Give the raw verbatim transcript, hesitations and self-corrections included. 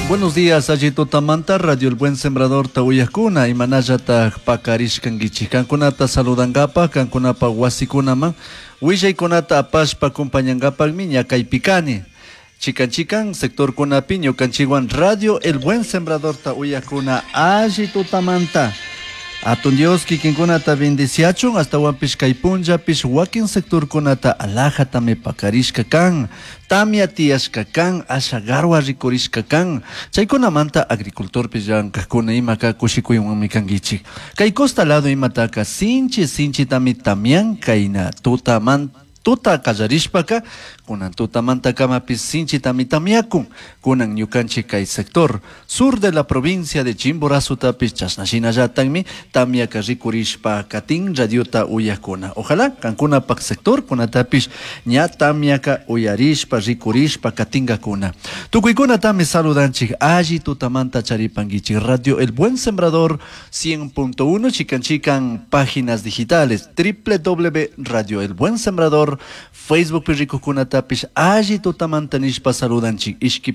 Buenos días, alli tutamanta, Radio El Buen Sembrador uyajkuna, imanallataj pakarishkankichik. Kankunata saludankapaj, kankunapa wasikunaman, willaykunata apashpa acompañankapakmi ñakaypi kani. Chikan chikan sectorkunapi ñukanchikwan Radio El Buen Sembradorta uyajkuna alli tutamanta. Atun Dios kikinkunata bendiciachun astawanpish kay punllapish wakin sectorkunata alajatami pakarishka kan tamia tiyashka kan asha garwa rikurishka kan chaykunamanta agricultorpish llankajkuna imaka kushikuywanmi kankichik kay costa lado imataka sinchi sinchitami tamian kayna tutaman tuta qallarishpaka kunan tutamanta kamapish sinchitami tamyakun kunan ñukanchik kay sector sur de la provincia de Chimborazotapish chashna shinallatakmi tamyaka rikurishpa katin radiota uyakuna ojalá kankunapak sector kunatapish ña tamyaka uyarishpa rikurishpa katinkakuna tukuykunatami saludanchik alli tutamanta charipankichik Radio El Buen Sembrador cien punto uno chikan chikan páginas digitales www Radio El Buen Sembrador Facebook rikukunatapish alli tutamanta nishpa saludanchik ishki